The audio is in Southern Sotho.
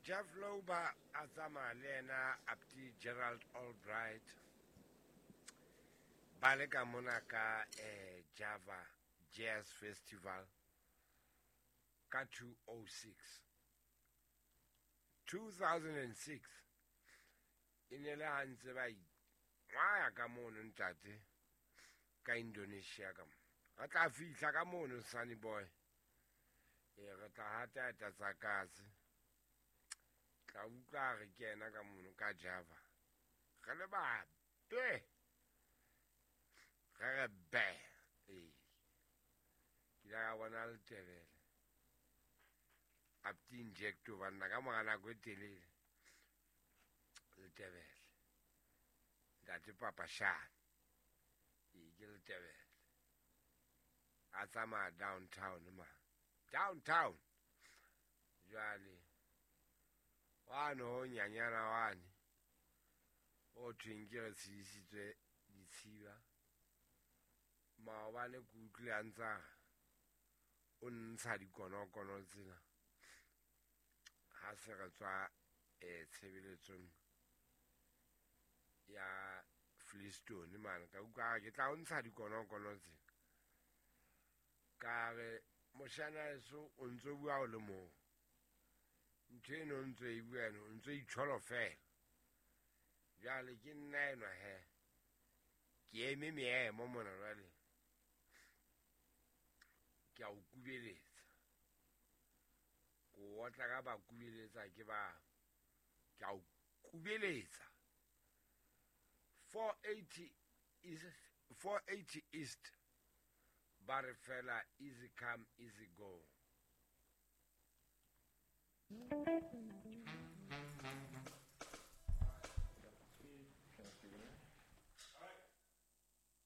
Jeff Lorber a tsamaya le yena apti Gerald Albright ba le ka mona ka Java Jazz Festival ka 206 2006 e ne le ha ntse ba ingwaya ka mono ntate ka Indonesia ka mo re tla fihla ka mono Sunny Boy e re tla hata tsa katse tla utlwa re kena ka mono ka Java re le babe re re be ee ke ile ka bona letebele apti injecto banna ka mora nako e telele letebele ntate Papashane ee ke letebele a tsamaya downtown ma downtown jwale wane ho nyanyana wane o thweng ke re tshedisitswe ditshiba maobane ke utlwile a ntsa o ntsha dikonokono tsena ha se re tswa tshebeletsong ya Flistone mane ka utlwa ke tla o ntsha dikonokono tsena ka re moshana eso o ntso bua o le mong ntho eno o ntso e bua eno o ntso itsholo fela jwale ke nna enwa he ke eme meemo mona jwale ke a o kubeletsa ko otla ka ba kubeletsa ke ba ke a o kubeletsa 480 is 480 East ba re fela easy come easy go.